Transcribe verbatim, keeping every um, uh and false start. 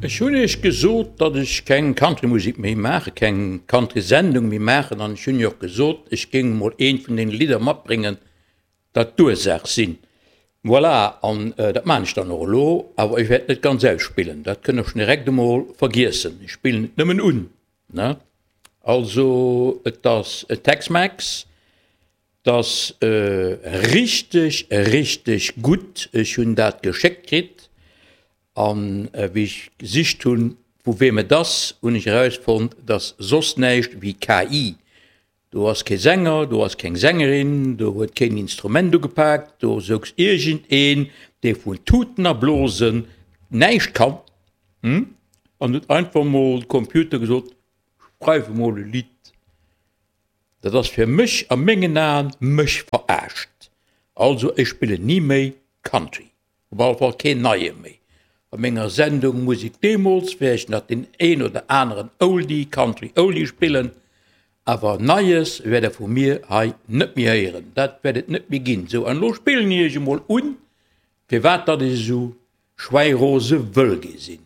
Ech hunn iech gesot, datt ech keng Countrymusek méi maachen, keng Countrysendung méi maachen, an ech hunn iech och gesot, ech géing emol eent vun deene Lidder matbréngen, dat d'Ursaach sinn. Voilà, an dat maachen ech dann och elo, awer ech wäert net ganz ausspillen, dat kënnt der schonn direkt emol vergiessen, ech spillen et nëmmen un, ne. Also, et ass Tex-Mex, et ass richteg, richteg gutt, ech hunn dat geschéckt kritt. An wéi ech gesicht hunn, vu weem et ass, hunn ech erausfonnt, et ass soss näischt wéi K I. Do ass kee Sänger, do ass keng Sängerin, do huet keen Instrument ugepaakt, do souz iergendeen, dee vun Tuten a Blosen näischt kann, an huet einfach mol de Computer gesot, Schreif emol e Lidd. Dat ass fir mech a mengen Aen mech veraascht. Also ech spillen ni méi Country. Op alle Fall keen neie méi. A menger Sendung Musik deemools wäert ech nach deen een oder aneren Oldie, Country Oldie spillen, awer Neies wäert der vu mir hei net méi héieren. Dat wäert et net méi ginn. Sou, an elo spillen ech iech emol un, firwat datt ech esou schwäirose wëll gi sinn.